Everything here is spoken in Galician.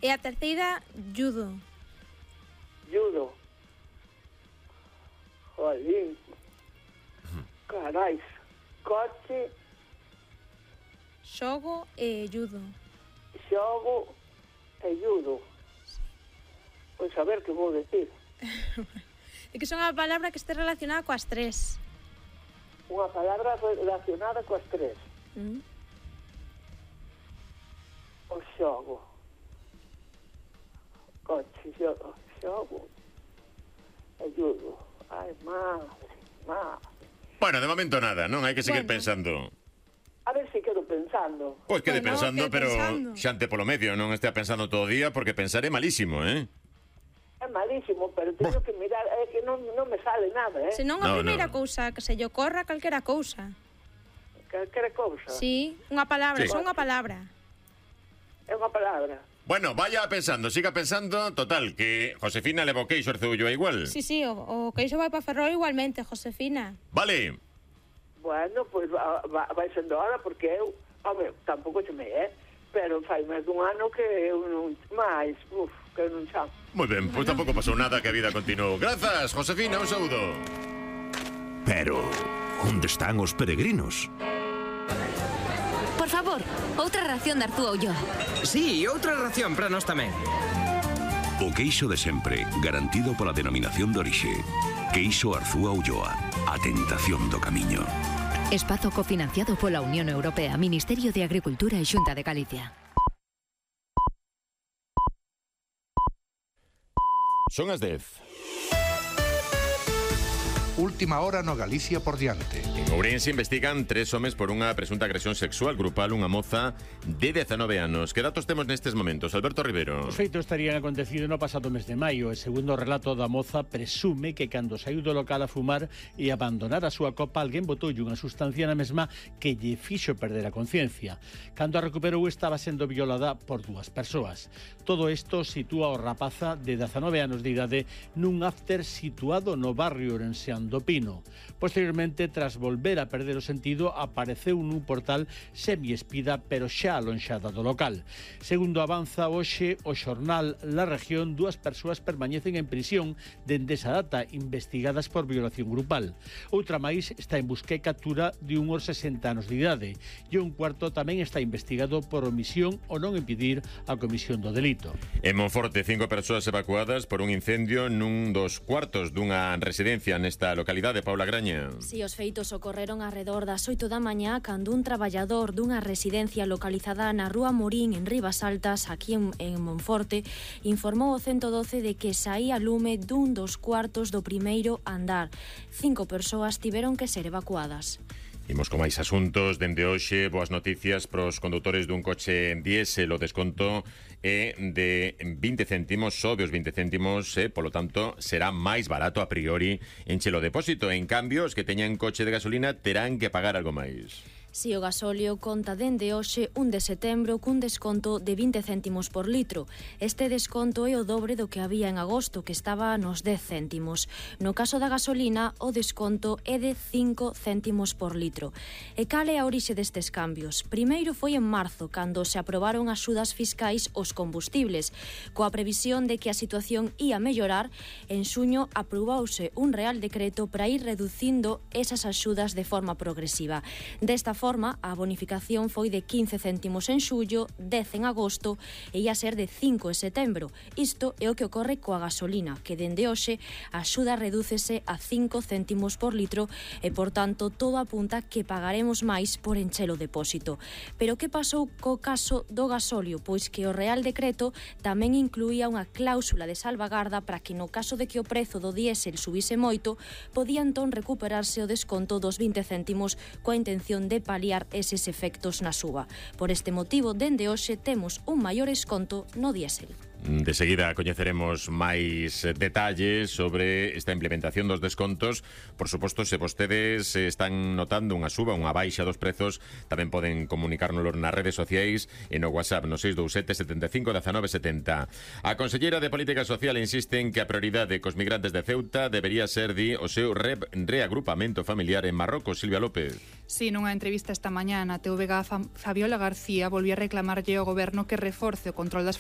E a terceira, judo. Judo. Jolín. Carais. Coche, Xogo e judo. xogo e judo. Pois a ver que vou decir. É que son a palabra que este relacionada coas tres. Unha palabra relacionada coas tres. O xogo. Coche, xogo e judo. Ai, madre. Bueno, de momento nada, non? Hai que seguir pensando. A ver se quedo pensando. Pois quede Bueno, pensando, quede pero pensando. xante polo medio, non estea pensando todo o día, porque pensar é malísimo, É malísimo, pero teño que mirar, é que non me sale nada, Se non a No, primeira no. cousa que se lle ocorra calquera cousa. Calquera cousa. Sí, unha palabra, Sí. só unha palabra. É unha palabra. Bueno, vaya pensando, siga pensando. Total, que Josefina leva o queixo Arceullo igual. Sí, o queixo vai para Ferrol igualmente, Josefina. Vale. Bueno, pois vai sendo hora, porque eu, home, tampouco chamei, pero fai máis dun ano que eu non, que eu non chamo. Moi ben, pois tampouco pasou nada, que a vida continuou. Grazas, Josefina, un saúdo. Pero, onde están os peregrinos? Por favor, outra ración de Artúa Ulloa. Sí, outra ración para nós tamén. O queixo de sempre, garantido pola denominación de orixe. Queixo Arzúa Ulloa, a tentación do camiño. Espazo cofinanciado pola Unión Europea, Ministerio de Agricultura e Xunta de Galicia. Son as 10. Última hora no Galicia por diante. En Ourense investigan 3 homes por unha presunta agresión sexual grupal unha moza de 19 anos. Que datos temos nestes momentos, Alberto Rivero? Os feitos estarían acontecido no pasado mes de maio e segundo o relato da moza presume que cando saiu do local a fumar e abandonar a súa copa alguén botoulle unha sustancia na mesma que lle fixo perder a conciencia. Cando a recuperou estaba sendo violada por 2 persoas. Todo isto sitúa o rapaza de 19 anos de idade nun after situado no barrio orenseán do Pino. Posteriormente, tras volver a perder o sentido, apareceu nun portal semiespida, pero xa alonxada do local. Segundo avanza hoxe o xornal La Región, 2 persoas permanecen en prisión dende esa data, investigadas por violación grupal. Outra máis está en busca e captura de uns 60 anos de idade e un cuarto tamén está investigado por omisión ou non impedir a comisión do delito. En Monforte, 5 persoas evacuadas por un incendio nun dos cuartos dunha residencia nesta localidade, Paula Graña. Si, os feitos ocorreron arredor das 8 da mañá cando un traballador dunha residencia localizada na Rúa Morín en Rivas Altas, aquí en Monforte, informou o 112 de que saía lume dun dos cuartos do primeiro andar. 5 persoas tiveron que ser evacuadas. Imos con máis asuntos. Dende hoxe, boas noticias pros condutores dun coche diésel. O desconto é de 20 céntimos, sobe os 20 céntimos, polo tanto, será máis barato a priori enche o depósito. En cambio, os que teñan coche de gasolina terán que pagar algo máis. Si, o gasóleo conta dende hoxe 1 de setembro cun desconto de 20 céntimos por litro. Este desconto é o dobre do que había en agosto, que estaba nos 10 céntimos. No caso da gasolina, o desconto é de 5 céntimos por litro. E cal é a orixe destes cambios? Primeiro foi en marzo, cando se aprobaron axudas fiscais aos combustibles. Coa previsión de que a situación ia mellorar, en xuño aprobouse un real decreto para ir reducindo esas axudas de forma progresiva. Desta forma, a bonificación foi de 15 céntimos en xullo, 10 en agosto e ia ser de 5 en setembro. Isto é o que ocorre coa gasolina, que dende hoxe a axuda redúcese a 5 céntimos por litro e, por tanto, todo apunta que pagaremos máis por encher o depósito. Pero que pasou co caso do gasóleo? Pois que o Real Decreto tamén incluía unha cláusula de salvagarda para que no caso de que o prezo do diésel subise moito, podía entón recuperarse o desconto dos 20 céntimos coa intención de paliar eses efectos na suba. Por este motivo, dende hoxe temos un maior desconto no diésel. De seguida coñeceremos máis detalles sobre esta implementación dos descontos. Por suposto, se vostedes están notando unha suba, unha baixa dos prezos, tamén poden comunicárnoslo nas redes sociais e no WhatsApp no 627 75 19 70. A conselleira de Política Social insiste en que a prioridade cos migrantes de Ceuta debería ser o seu reagrupamento familiar en Marrocos. Silvia López. Si, nunha entrevista esta mañá na TVG, Fabiola García volvió a reclamarlle ao goberno que reforce o control das